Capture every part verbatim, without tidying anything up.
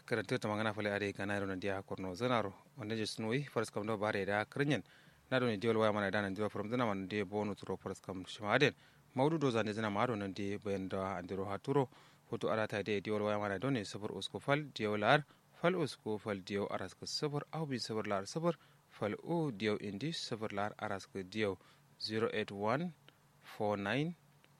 Kǝrǝntǝ tǝmangǝna fǝle adǝ ye gana yero nandiya korno zǝnaro. Wande je sunuwi faraskam do bare da kǝrǝnyen. Na done diyol waya mana da nandiro fǝrǝmzǝna ma nandiye bonu turo faraskam shima adǝyen. Maudu do zande zǝna ma ado nandiye bayan da andiro haturo. Futu arata de diyol waya mana done sǝfur usku fal diyau la'ar fal usku fal diyau araskǝ sǝfur au bi sǝfur la'ar sǝfur fal u diyau indi sǝfur la'ar araskǝ diyau. Zero eight one four nine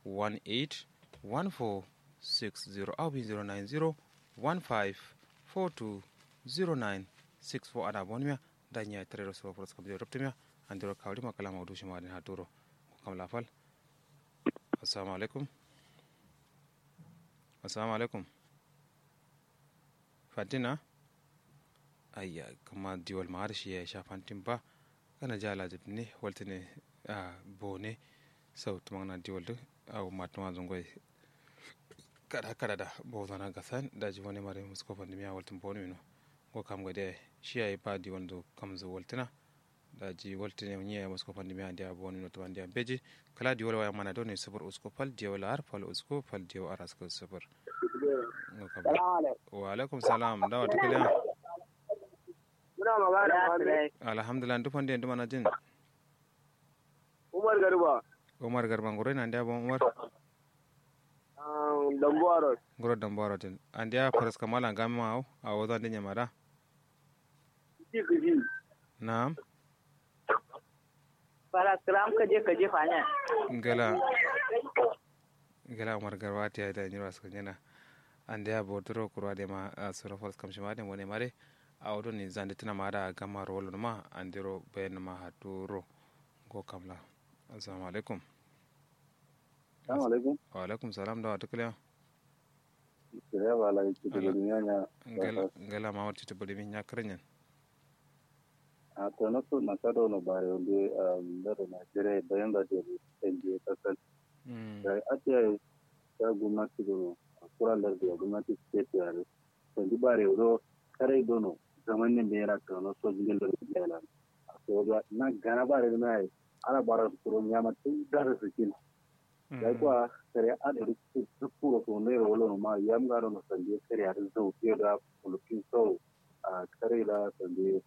one eight one four six zero au bi zero nine zero one five four two zero nine six four. Ada bonmiya da nya tare ro suro faraskam diyau ruptumiya. Andiro kawri ma kala maudu shima adǝyen haturo. Kam la fal. Assalamu alaikum. Assalamu alaikum. Fantin na? Ayya kǝma diwal ma har shi yayi sha fantin ba. Kana ja lajib ne waltǝ ne. Bone sau tǝmangǝna diwal dǝ. Au matuma zungoi. Kada kada da bozana gasan daji wani mare musko fandimiya waltǝ bone mino. Ngo kam gade shi yayi ba diwal dǝ kamzǝ waltǝna. Daji waltǝ ne nyi yayi musko fandimiya andiya bone mino tǝma andiya mbeji. Kala diwal waya mana done sǝfur usku fal diyau la'ar fal usku fal diyau araskǝ sǝfur. Ngo kam. Wa alaikum salam dawa tǝkǝliya. Alhamdulillah ndu fande ndu mana jin. Umar garba. Umar garba nguro ina andiya bon umar. Dambuwa road. Nguro dambuwa road din andiya faraskam ala ngami ma awo awo zande nyamada. Kiji kiji. Na'am. Faraskram kaje kaje fanya. Ngala. Ngala umar garba tiya da nyiro askanyena. Andiya boturo kuru adema suro faraskam shima adema wone mare. Awo done zande tǝna ma ada gamma ro wallo numa andiro bayan numa haturo. Ngo kamla. Assalamu alaikum. Assalamu alaikum. Wa alaikum salam dawa tǝkǝliya. Kǝliya ba lai citǝ bǝdimiya nya. Ngala mamar citǝ bǝdimi nya kǝrǝnyen. A tono su na kado no bare wande. Lado nigeria bayan da dero sanje kasal. Dai atiya ya gumnati dono kura lardi ya gumnati state yare. Sandi bare wuro karai dono zaman nin bera kano so jingil lardi ya lan. A so da na gana bare na yi. Ala bara su kuro nyama tun dara su kin. Dai kwa kare adari su kuro so ne ro wolo ma yam gano no sandi kare adari zau ke da kulukin so. A kare da sande.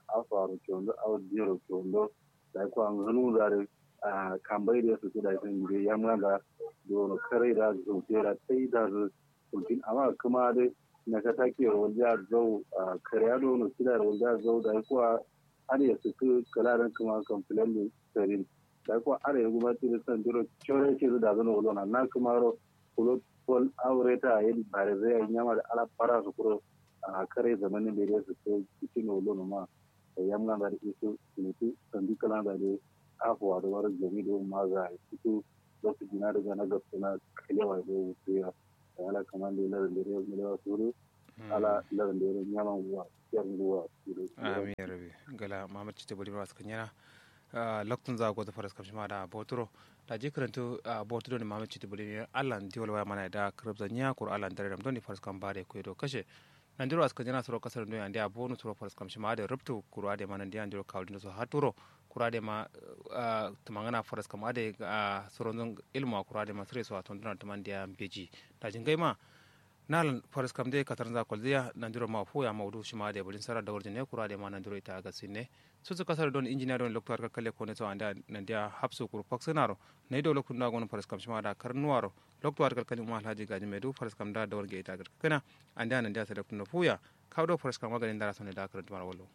Afa ro kyondo au diro kyondo. Dai kwa nganu dare. A kambai da su da sande yam ganda. Dono kare da zau ke da tai da su. Kulkin amma kuma dai na ka take ro wanda zau a kare ado no kida ro wanda zau dai kwa. Har ya su ku kala dan kuma complain din sarin. Dai kwa are guma ti da sandiro chore ce da zano wolo na na kuma ro. Kulo pol aureta yin bare zai yin yama da ala fara su kuro. A kare zamanin da ya su kai cikin wolo ma. Da yamma da da isu mutu sandi kala da da afuwa da wara jami da ma za a yi fito. Lokacin na daga na gabta na kalewa da wutu ya. Da ala kaman da larin da ya malewa suru. Ala larin da ya nyama guwa yar guwa. Amin ya rabi. Gala mamar cita bari ma su kanyana. Loktunza gozo faraskam shima da boturo. Daji kǝrǝntu boturo ni mame citi bǝlimi allan diwal waya mana da kǝrǝbza nyiya kuru allan dararam doni faraskam bare kuye do kashe. Nandiro askǝ nyana suro kasar doni andiya bonu suro faraskam shima ade rubtu kuru ade ma nandiya andiro kawulindo so haturo. Kuru ade ma tǝmangana faraskam ade suro nzon ilmu a kuru ade ma sǝre so a tonduna tǝmandiya mbeji. Daji ngai ma. Nalan faraskam de katarnza kolziya nandiro ma fuya maudu shima de bulin sara dawar jine kura de ma nandiro ita aga sinne. Susu kasar don injiniya don lokto har kalkale kone so anda nandiya hapsu kuru faksinaro. Nai do lokto nda gono faraskam shima da karnuwaro. Lokto har kalkale ma alhaji gaji medu faraskam da dawar ge ita aga kana. Anda nandiya sadaktu no fuya. Kawo do faraskam magani ndara sone da karantu mara wallo.